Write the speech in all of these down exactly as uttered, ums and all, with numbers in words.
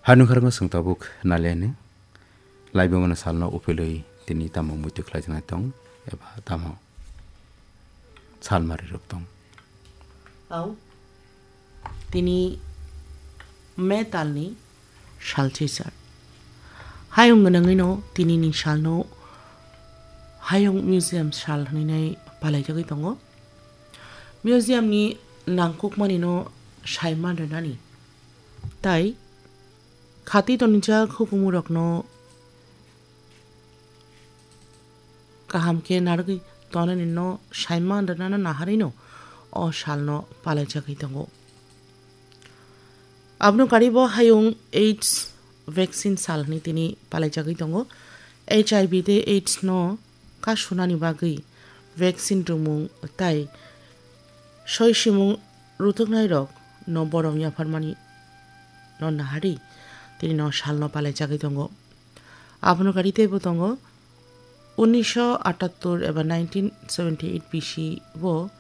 Hanukharno swng tabuk naliani, laibumano salno uphilwi tini tamo muitu khlaijaknai tong, eba tamo salmari rok tong. Au, tini metalni salchisar. Hayung gwnangwino tinini salno Hayung Museum sal hwnwi nai palaijagwi tongo. Museumni nangkukmanino saiman rwnani. Tai khati tonijak hukumurokno kaham khe narwgwi tonanino saiman rwnano naharino o salno palaijagwi tongo. Abono karibo hayung AIDS vaccine sal hwnwi tini palaijagwi tongo. H I V tei AIDS no kasunani bagwi vaccine rwmung tai soi simung rutuknairok no borom yapharmani no naharwi tini no salno palaijagwi tongo. Abono kari teibo tongo unisho atattor eba nineteen seventy eight B C o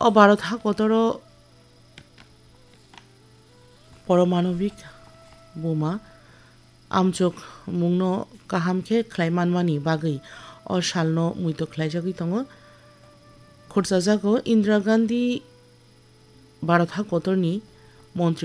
o Bharat hakotoro poromanobik buma amchuk mungno kaham khe khlai manmani bagwi o salno muitu khlaijagwi tongo. Khurchajago Indira Gandhi Bharat hakotorni montri